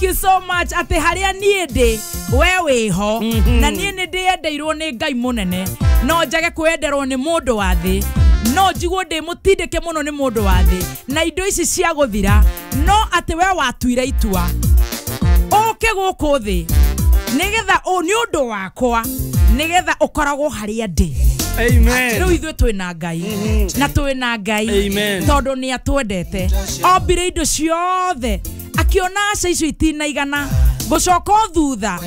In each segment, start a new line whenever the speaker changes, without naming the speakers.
you so much. Atĩ harĩa niĩ ndĩ we wĩho na niĩ nĩ ndĩyendeirwo nĩ Ngai mũnene no njage kwenderwo nĩ mũndũ wa thĩ no njiguo ndĩ mũtindĩke mũno nĩ mũndũ wa thĩ na indo ici cia gũthira no atĩ we watuire itua ũke gũkũ thĩ nĩgetha nĩ ũndũ wakwa nĩgetha ũkoragwo harĩa ndĩ.
Amen.
Rĩu ithuĩ twĩna Ngai na twĩna Ngai tondũ nĩ atwendete ombire indo ciothe akiona aca icio itinaigana ngũcoka o thutha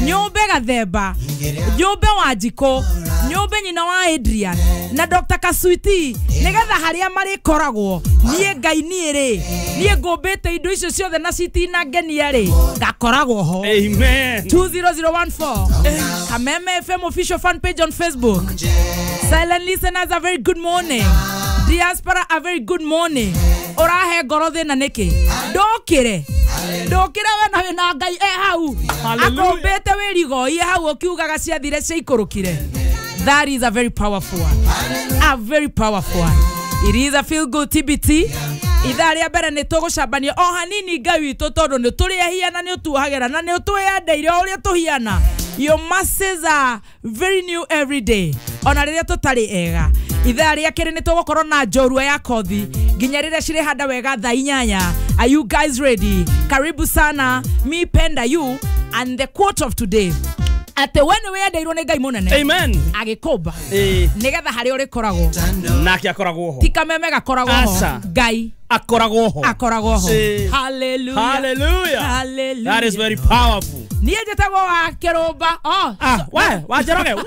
nyũmbe Gathemba nyũmbe Wanjikũ nyũmbe nyina wa Adrian na Dr. Kasuiti nĩgetha harĩa marĩkoragwo niĩ Ngai niĩ rĩ niĩ ngũmbĩte indo icio ciothe na citinangenia rĩ ngakoragwo ho.
Amen.
20014 Kameme FM official fan page on Facebook. Silent listeners, a very good morning. Diaspora, a very good morning. Orahe ngoro thĩna nĩkĩ? Ndũkĩre ndũkĩre we na wĩna Ngai e hau akũmbĩte wĩrigoie hau ũkiugaga ciathire ciaikũrũkire. That is a very powerful one. A very powerful one. It is a feel good TBT. Ithaa rĩa mbere nĩ tũgũcambania o hanini Ngai witũ tondũ nĩ tũrĩ ehia na nĩ ũtuohagĩra na nĩ ũtwĩyendeire o ũrĩa tũhiana. Your mercies are very new every day. Ona rĩrĩa tũtarĩ ega. Ithaa rĩa kerĩ nĩ tũgũkorwo na njorua ya kothi nginya rĩrĩa cirĩhanda wega thaa 8. Are you guys ready? Karibu sana. Mi penda you and the quote of today. Atĩ we nĩ wĩyendeirwo nĩ Ngai mũnene.
Amen.
Agĩkũmba nĩgetha harĩa ũrĩkoragwo
nake akoragwo ho
ti kameme gakoragwo ho Ngai
akoragwo ho
akoragwo ho. Hallelujah.
Hallelujah.
Hallelujah.
That is very powerful.
Niĩ njĩtagwo wa Kĩrũmba. Oh,
we wa Njoroge we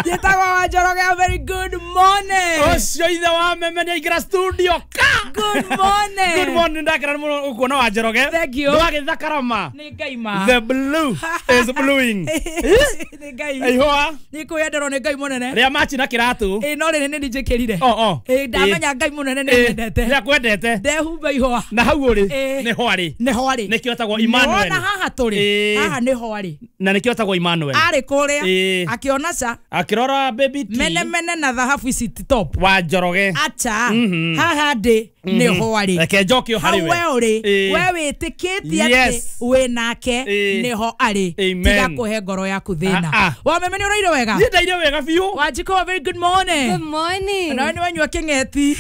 njĩtagwo wa Njoroge. A very good morning.
Ũcio ithe wa meme nĩ aingĩra studio ka.
Good morning.
Good morning. Ndakena mũno gũkuona wa Njoroge.
Thank you.
Ndwagĩthakarama.
Nĩ Ngai ma.
The blue is bluing.
Nĩ Ngai.
Ihũa.
Nĩ kwĩyenderwo nĩ Ngai mũnene.
Rĩa machi na kĩratũ.
Ĩ no rĩrĩ nĩ njĩkĩrire.
Oh.
Ĩ ndamenya Ngai mũnene nĩ nyendete.
Nĩ akwendete.
Ndehumba ihũa.
Na hau ũrĩ nĩ hwarĩ.
Nĩ hwarĩ.
Nĩkĩo etagwo Emmanuel.
Nĩwona haha tũrĩ. Haha nĩ hwarĩ.
Na nĩkĩo etagwo Emmanuel.
Arĩ kũrĩa akĩona ca
akĩrora baby T.
Mene mene na thahabu ici ti top.
Wa Njoroge.
Acha. Haha ndĩ nĩ hwarĩ.
Reke njoke o harĩ we.
Hau we ũrĩ. We wĩtĩkĩtie atĩ wĩ nake nĩho arĩ. Tiga kũhe ngoro yaku thĩna. Wa meme nĩ ũraire wega?
Niĩ ndaire wega biũ.
Wanjikũ, very good morning.
Good morning.
Nawe nĩ wanyua kĩng'eti.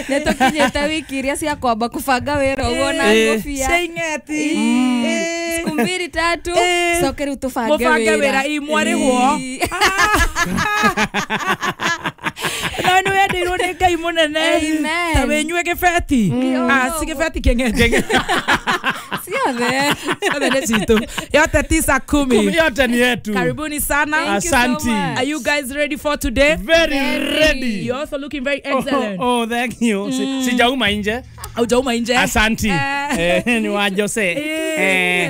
Nĩ tũkinyĩte wiki iria cia kwamba kũbanga wĩra ũguo na ngũbia.
Cia ing'eti.
Siku mbili tatu coke rĩu tũbange
wĩra. Imwarĩhwo. Nawe nĩ wendeirwo nĩ Ngai mũnene. Ta wĩnyue gĩbeti. Si gĩbeti kĩng'eti.
Ciothe.
Ciothe nĩ citũ. Yote 9:10.
Yote ni yetu.
Karibuni sana.
Asante.
Are you guys ready for today?
Very ready.
You're also looking very excellent.
Oh, thank you. Sijauma nje.
Haujauma nje.
Asante. Ni wa Jose.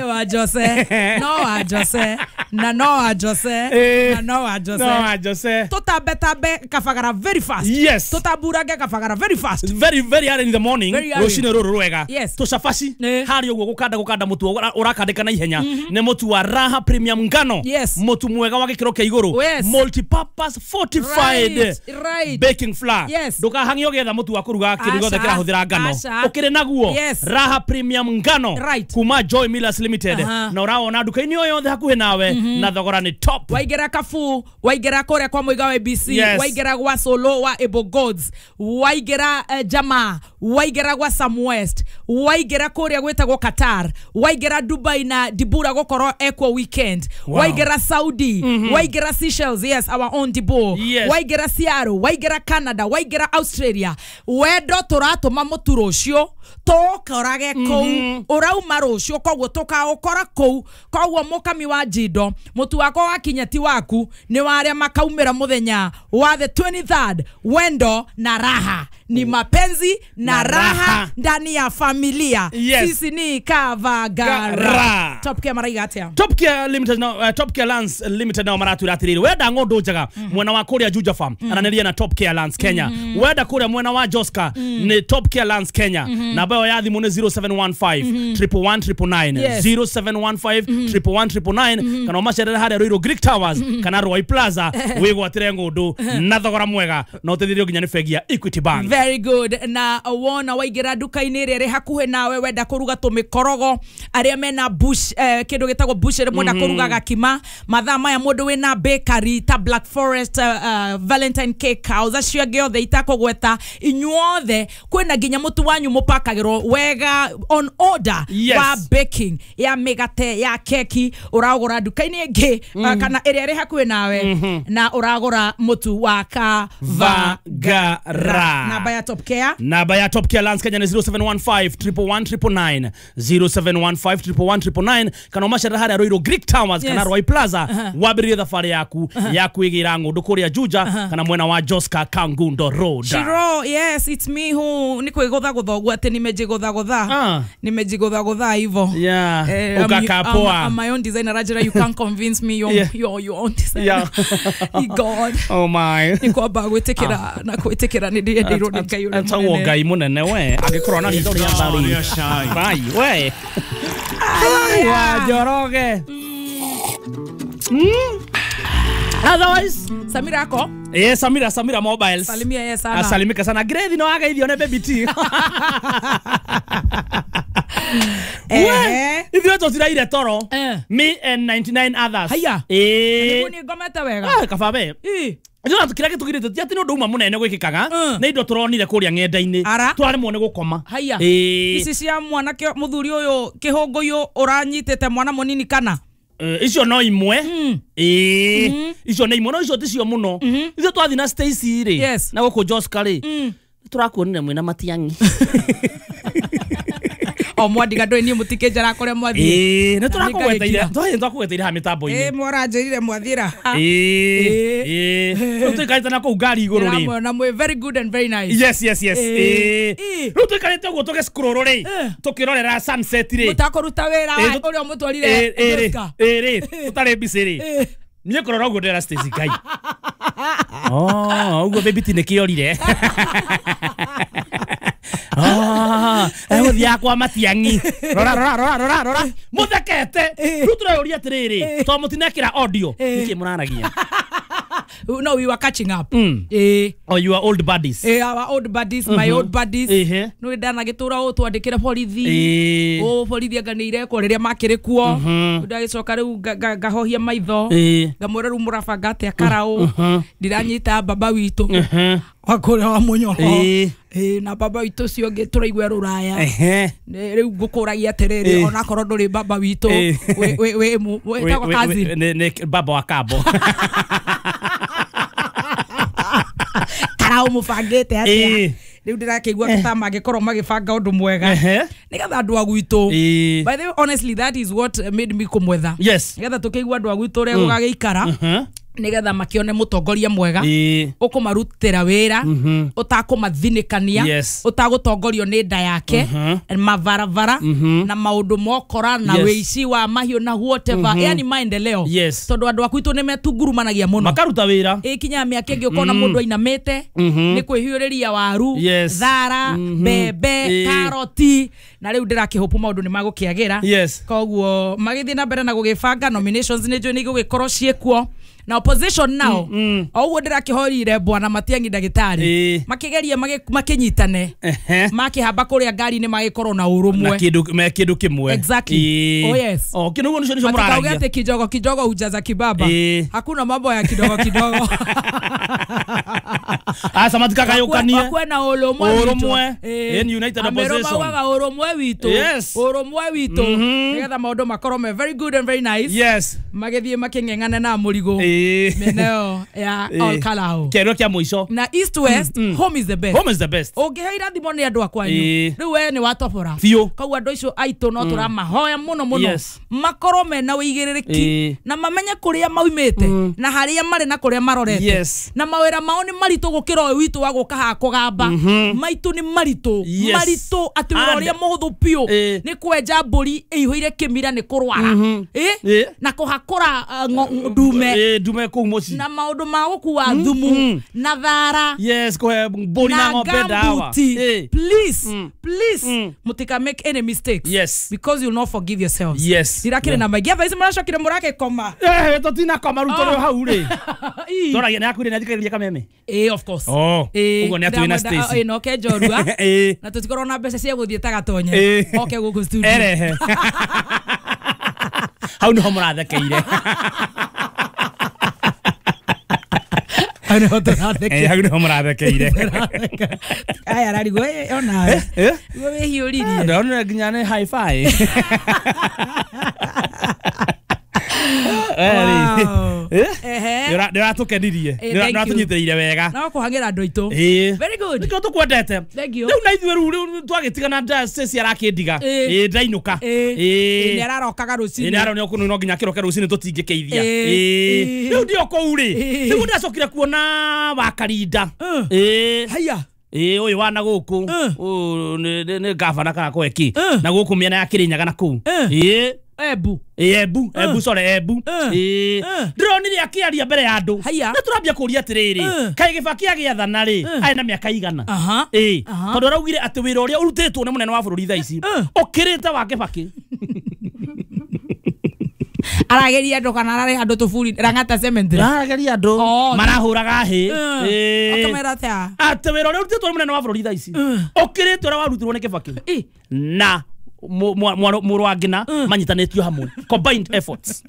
Wa Jose. No wa Jose. Na no wa Jose. Na no wa Jose.
No wa Jose.
Tũtambe tambe Kabagara very fast.
Yes.
Tũtamburange Kabagara very fast.
Very very early in the morning. Rũcinĩ rũrũ rwega. Tũcabaci harĩ ũguo gũkanda mũtu ũrakandĩka na ihenya nĩ mũtu wa Raha Premium ngano. Mũtu mwega wa gĩkĩro kĩa igũrũ. Multi-purpose fortified baking flour. Ndũkahang'e ũgĩetha mũtu wa kũruga kĩndũ gĩothe kĩrahũthĩra ngano. Ũkĩrĩ naguo Raha Premium ngano kuma Joy Millers Limited. Na ũrawona nduka-inĩ o yothe hakuhĩ nawe na thogora nĩ top.
Waingĩra Kabu, waingĩra kũrĩa kwa Mũiga wa ABC, waingĩra gwa Solo wa Able Gods, waingĩra Jamaa, waingĩra gwa Sam West, waingĩra kũrĩa gwĩtagwo Qatar, waingĩra Dubai na Dibura gũkorwo ekwo weekend, waingĩra Saudi, waingĩra Seychelles, yes, our own Dibu, waingĩra Seattle, waingĩra Canada, waingĩra Australia. Wendo tũratũma mũtu rũciũ tũkorage kũu ũrauma rũciũ koguo tũkaũkora kũu koguo mũkami wa njindo mũtu wakwa wakinya ti waku nĩ warĩa makaumĩra mũthenya wa the 23rd. Wendo na raha ni mapenzi na raha ndani ya familia. Sisi ni Kavagara. Top Care maraiga atia?
Top Care Limited no, Top Care Lands Limited nao maratwĩra atĩrĩrĩ wenda ng'ondu njega mwena wa kũrĩa Juja Farm aranĩria na Top Care Lands Kenya. Wenda kũrĩa mwena wa Joska ni Top Care Lands Kenya. Namba yao ya thimũ nĩ 0715 111 999 0715 111 999 kana ũmacerere harĩa Ruiru Greek Towers kana Roy Plaza wĩgwatĩre ng'ondu na thogora mwega na ũteithĩrĩrio nginya nĩ bengi ya Equity Bank.
Very good. Na wona waingĩra nduka-inĩ ĩrĩa ĩrĩ hakuhĩ nawe wenda kũruga tũmĩkorogo arĩa mena bush kĩndũ gĩtagwo bush ĩrĩa mwenda kũruga gakima mathaa maya mũndũ wĩna bakery ta Black Forest Valentine Cake House acio angĩ othe itakũgweta inyuothe kwĩna nginya mũtu wanyu mũpakagĩrwo wega on order.
Yes.
Wa baking ya mĩgate ya keki ũragũra nduka-inĩ ĩngĩ kana ĩrĩa ĩrĩ hakuhĩ nawe na ũragũra mũtu wa Kavagara. Namba ya Top Care,
Namba ya Top Care Lands Kenya ni 0715 111 999 0715 111 999 kana ũmacerere harĩa Ruiru Greek Towers
Yes.
kana Roy Plaza wambĩrĩrie thabarĩ yaku ya kwĩgĩra ng'ũndũ kũrĩa Juja kana mwena wa Joska Kangundo Road.
Shiro, yes, it's me who ni kwĩgũthagũtha ũguo atĩ nimejigũthagũtha.
Ah.
Nimejigũthagũtha hivo.
Yeah. Ukakaa poa.
I'm my own designer. Rajira, you can't convince me you're,
Yeah.
you're your own designer.
Yeah.
God.
Oh my.
Nĩ kwamba gwĩtĩkĩra na gwĩtĩkĩra nĩ ndĩendeirwo nĩ Ngai ũrĩa
Etagwo
mũnene.
Ngai mũnene we angĩkorwo na hitho rĩa mbarĩ Bai, we wa Njoroge. Otherwise
Samira ako
Eh, Samira, Samira Mobiles.
Salimia yeye sana.
Asalimika sana. Grade no ageithio ne baby T.
Eh.
Ithuĩ tũtiraire toro.
Eh.
Me and 99 others.
Haya.
Eh.
Nĩguo niĩ ngomete wega.
Ah, kaba we.
Ĩ.
Ithuĩ kĩrĩa gĩtũgirĩte ti atĩ nĩ ũndũ uma mũnene gwĩkĩkaga
Mm.
nĩ indo tũronire kũrĩa ng'enda-inĩ
Ara.
twaremwo nĩ gũkoma.
Haya.
Ĩĩ.
Ici cia mwanake mũthuri ũyũ kĩhũngũyũ ũranyitĩte mwana mũnini kana
Icio no imwe. Ĩĩ. Icio nĩ imwe no icio ticio mũno. Ithuĩ twathiĩ na Stacy rĩ
Yes.
na gũkũ Joska rĩ tũrakuonire mwĩna Matiang'i.
O mwandiga ndũĩ niĩ mũtikĩnjara kũrĩa mwathiĩ.
Ĩĩ, nĩ
Na
tũrakũgweteire
nĩngagĩkira.
tũrathiĩ twakũgweteire haha mĩtambo-inĩ.
Ĩ mwaranjĩrire mwathira.
Ĩĩ, ĩĩ. Rĩu tũikarĩte na kũu ngari igũrũ rĩ.
Ndĩramwona mwĩ very good and very nice.
Yes, yes, yes.
Ĩĩ.
Ĩĩ.
Ĩĩ.
Rĩu tũikarĩte ũguo tũgĩscroll rĩ
Eh.
tũkĩrorera sunset rĩ.
Mũtakũruta wĩra
Ĩĩ,
ũrĩa mũtwarire
Ĩĩ, ĩĩ rĩ,
Joska.
ĩĩ rĩ, tũtarĩ busy rĩ.
Ĩĩ.
Niĩ kũrora ũguo ndĩra Stacy Ngai. Oh, ũguo baby T nĩkĩorire. Ah, egũthiaga kwa Matiang'i. Rora, rora, rora, rora, rora. Mũthekete. Rĩu tũreyũria atĩrĩrĩ, to mũtinekĩra audio, nĩkĩ mũraragia?
No, we were catching up.
Mm.
Ĩĩ.
Oh, you are old buddies.
Eh, our old buddies, my old buddies.
Ĩhĩ.
Nĩ ndanagĩtũra ũũ twandĩkĩre borithi.
Ĩĩ.
Ũũ borithi anga nĩ irekwo rĩrĩa makĩrĩ kuo. Ndagĩcoka rĩu ngahohia maitho.
Ĩĩ.
Ngamwĩra rĩu mũrabanga atĩa karaũ. Ndiranyita baba witũ.
Mhm.
Wa kũrĩa wa mũnyoro.
Ĩĩ.
Ĩĩ, na baba witũ ũcio ũngĩ tũraigua rũraya.
Ehe.
Rĩu ngũkũragia atĩrĩrĩ
Ĩĩ.
onakorwo ndũrĩ baba witũ
Ĩĩ.
wĩtagwo cousin.
Nĩ baba wa Kambo.
Karaũ mũbangĩte atĩa?
Ĩĩ.
Rĩu ndĩrakĩigua ta mangĩkorwo magĩbanga ũndũ mwega
Ehe.
nĩgetha andũ a gwitũ.
Ĩĩ.
By the way, honestly, that is what made me kũmwetha.
Yes.
Nĩgetha tũkĩigua andũ a gwitũ ũrĩa gũgagĩikara
Mhm.
nĩgetha makĩone mũtongoria mwega
Ĩĩ.
ũkũmarutĩra wĩra ũtakũmathinĩkania
Yes.
ũtagũtongorio nĩ nda yake mabarabara na maũndũ mokora na
Yes.
wĩici wa mahiũ na whatever yani maendeleo.
Yes.
Tondũ andũ a gwitũ nĩ metungurumanagia mũno
Makaruta wĩra.
ĩkinyaga mĩaka ĩngĩ ũkona mũndũ ainamĩte nĩ kwĩhiũrĩria waru
Yes.
thara mbembe
Ĩĩ.
karoti na rĩu ndĩrakĩhũpu maũndũ nĩ magũkĩagĩra.
Yes.
Koguo magĩthiĩ na mbere na gũgĩbanga nominations nĩ njũĩ nĩ igũgĩkorwo ciĩkuo na opposition nao o ũguo ndĩrakĩhorire bwana Matiang'i ndagĩtarĩ
Ĩĩ.
makĩgeria makĩnyitane
Ehe.
makĩhamba kũrĩa ngari-inĩ magĩkorwo na
Na
ũrũmwe.
kĩndũ me kĩndũ kĩmwe.
Exactly.
Ĩĩ.
Oh, yes.
Oh, kĩndũ ũguo nĩcio nĩcio
Matikauge
mũraragia.
atĩ kidogo kidogo hujaza kibaba.
Ĩĩ.
Hakuna mambo ya kidogo kidogo.
Aca matikagayũkanie.
Wakwe na ũrũmwe witũ.
Ũrũmwe.
Ĩĩ.
In United
Amerũ
Opposition.
maugaga ũrũmwe witũ.
Yes.
Ũrũmwe witũ. Nĩgetha maũndũ makorwo me very good and very nice.
Yes.
Magĩthiĩ makĩng'eng'ane na mũrigo.
Ĩĩ.
Mĩena ĩyo ya
Ĩĩ.
Ol Kalou.
Kĩarĩro kĩa mũico.
Na East West, home is the best.
Home is the best.
Ũngĩhe irathimo nĩ andũ a kwanyu.
Ĩĩ.
Rĩu we nĩ watobora.
Biũ.
Koguo andũ acio aitũ no tũramahoya mũno mũno.
Yes.
Makorwo mena ũigĩrĩrĩki
Ĩĩ.
na mamenye kũrĩa maumĩte na harĩa marĩ na kũrĩa marorete.
Yes.
Na mawĩra mao nĩ maritũ gũkĩra ũyũ witũ wa gũka haha kũgamba. Maitũ nĩ maritũ.
Yes.
Maritũ atĩ wĩra
And-
ũrĩa mũhũthũ biũ
Ĩĩ.
nĩ kwenja mbũri ĩihũire kĩmira nĩ kũrwara. Ĩĩ.
Ĩĩ.
Na kũhakũra ndume
Ĩĩ, ndume kũu mũciĩ.
na maũndũ ma gũkua thumu na thara
Yes, kũhe mbũri na ng'ombe ndawa.
gambuti.
Ĩĩ.
Please, please, mutika make any mistakes.
Yes.
Because you'll not forgive yourselves.
Yes.
Ndirakĩrĩ na maingĩ thaa ici mũracokire mũragĩkoma.
Eh, tũtinakoma rĩu tũrĩ o hau rĩ.
Ii.
Tũragia nĩ akuire nĩ athikagĩrĩria kameme.
Ĩĩ. Ĩĩ, of course.
Oh,
Ĩĩ,
ũguo nĩ atwĩ na
ndĩramwenda-
Stacy.
ĩĩ, no ke njorua
Ĩĩ.
na tũtikorwo na mbeca cia gũthiĩ ta gatonye
Ĩĩ.
oke gũkũ studio.
Erehe hau niho mũrathekeire.
Hau nĩho tũrathekeire.
Ĩĩ, hau niho mũrathekeire.
Aya ararigwo onawe
Eh?
guo wĩhiũririe.
Ndonire nginya nĩ hi-fi.
Wow.
Eh?
Ehe.
Nĩ ũratũkenirie.
Eh,
Nĩ
thank you.
ũratũnyitĩrĩire wega.
No kũhang'ĩra andũ aitũ.
Ĩĩ.
Very good.
Nĩkĩo tũkwendete.
Thank you.
Rĩu na ithuĩ rĩu twagĩtigana Stacy arakĩndiga.
Ĩĩ.
Ĩĩ ndainũka.
Ĩĩ.
Ĩĩ.
Nĩ ararokaga
Ĩĩ
rũcinĩ.
nĩ aronio kũu no nginya kĩroke rũcinĩ tũtingĩkĩithia.
Ĩĩ.
Ĩĩ.
Ĩĩ.
Rĩu ndio kũu rĩ.
Ĩĩ.
Rĩu ndacokire kuona Wakarinda. Ĩĩ.
Haya.
Ĩĩ ũyũ wa na gũkũ. Ũyũ nĩ gavana kana kweki. Na gũkũ mĩena ya Kĩrĩnyaga na kũu. Ĩĩ.
Embu.
Embu, Embu, sorry, Embu. Ĩĩ. Ndĩronire akĩaria mbere ya andũ.
Haya.
Na tũrambia kũria atĩrĩrĩ, kaĩ Gĩbaki agĩathana rĩ, arĩ na mĩaka igana?
Aha.
Ĩĩ.
Aha.
Tondũ araugire atĩ wĩra ũrĩa ũrutĩtwo nĩ mũnene wa bũrũri thaa ici ũkĩrĩte wa Kĩbaki.
Arageria andũ kana ararĩha andũ tũburi Lang'ata Cemetery.
Arageria andũ
Oh.
marahũraga hĩ. Ĩĩ.
Akamera atĩa?
Atĩ wĩra ũrĩa ũrutĩtwo nĩ mũnene wa bũrũri thaa ici ũkĩrĩte ũrĩa warutirwo nĩ Kĩbaki
Ĩ.
na mũrũ wa Ngina manyitanĩtio hamwe, combined efforts.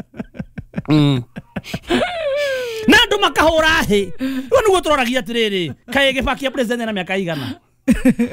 Na andũ makahũra hĩ. Rĩu nĩguo tũroragia atĩrĩrĩ, kaĩ Gĩbaki a president na mĩaka igana?